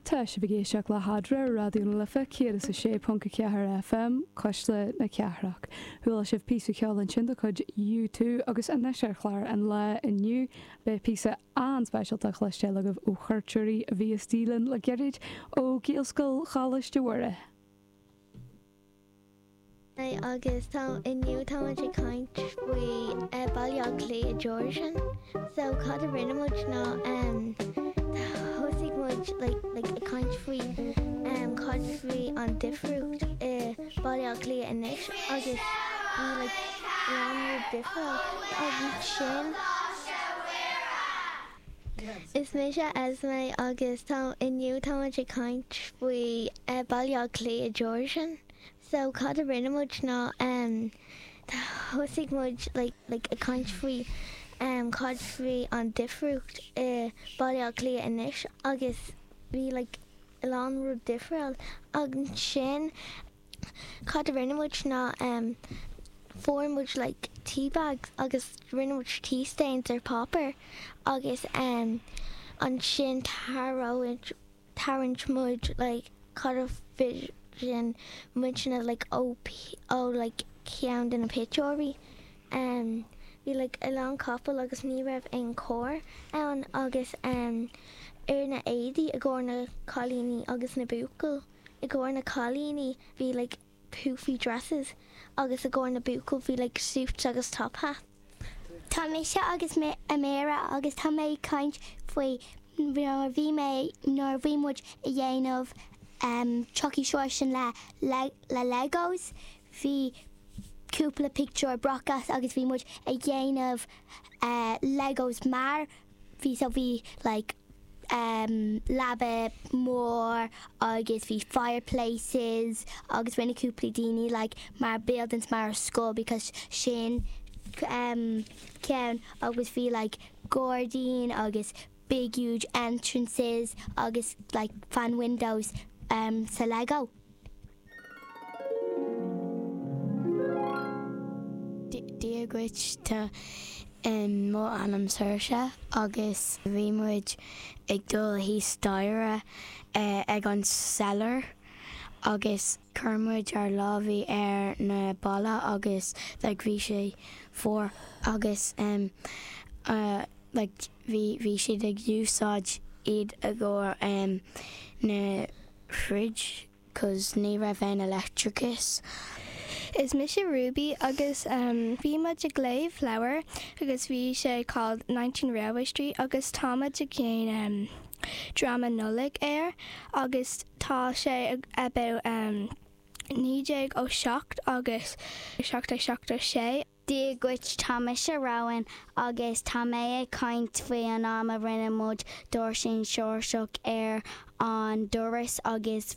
Tá sibh ag éisteacht le hEadra ar Raidió na Life 106.4 FM, Cuisle na Cathrach. Chuala sibh píosa ceoil ansin de chuid U2 agus anois ar chlár an lae inniu beidh píosa an-speisialta á chloisteáil agaibh ó chuairteoirí a bhí istigh linn le gairid ó Ghaelscoil Choláiste Mhuire. Agus tá inniu tá muid ag caint faoi Baile Átha Cliath Georgian. So cad a rinne muid ná thosaigh muid like like ag caint faoi cad faoi an difriúcht i Baile Átha Cliath anois agus bhí like a lán rud difriúil ansin. Is mise Esme agus tá inniu tá muid ag caint faoi Baile Átha Cliath Georgian. So cad a rinne muid ná em thosaigh muid like like ag caint faoi em cad faoi an difriúcht i Baile Átha Cliath anois agus bhí like a lán rud difriúil ansin cad a rinne muid ná em fuair muid like tea bags agus rinne muid tea stains ar páipéar agus em ansin tharraing tarraingt muid like cad a bhí muidne like ó ó like ceann de na pictiúirí em bhí like a lán capall agus ní raibh aon carr ann agus em ar na éadaí i gcomhair na cailíní agus na buachaill i gcomhair na cailíní bhí like poofy dresses agus i gcomhair na buachaill bhí like suits agus top hats. Tá mise agus Ameera agus tá mé ag caint faoi nuair a bhí mé nuair a bhí muid ag dhéanamh Chucky Seoirsean le le Legos bhí cúpla pictiúr brocacht agus bhí muid ag dhéanamh Legos mar bhí so bhí like leaba mór agus bhí fireplaces agus rinne cúpla daoine like mar buildings mar scoil because sin ceann agus bhí like gairdín agus big huge entrances agus like fan windows sa Lego. Dia dhuit, tá mo ainm Saoirse agus bhí muid ag dul thíos staighre ag an cellar agus chuir muid ár lámhaí ar na balla agus like bhí sé fuar agus like bhí bhí siad ag úsáid iad i gcomhair na fridge cos ní raibh aon leictreachas. Is mise Ruby agus bhí muid ag léamh leabhar agus bhí sé called 19 Railway Street agus tá muid ag déanamh dráma Nollag air agus tá sé about 1907 agus 1776. Dia dhuit, tá mise Rowan agus tá mé ag caint faoi an am a rinne muid doirsin Seoirseach ar an doras agus.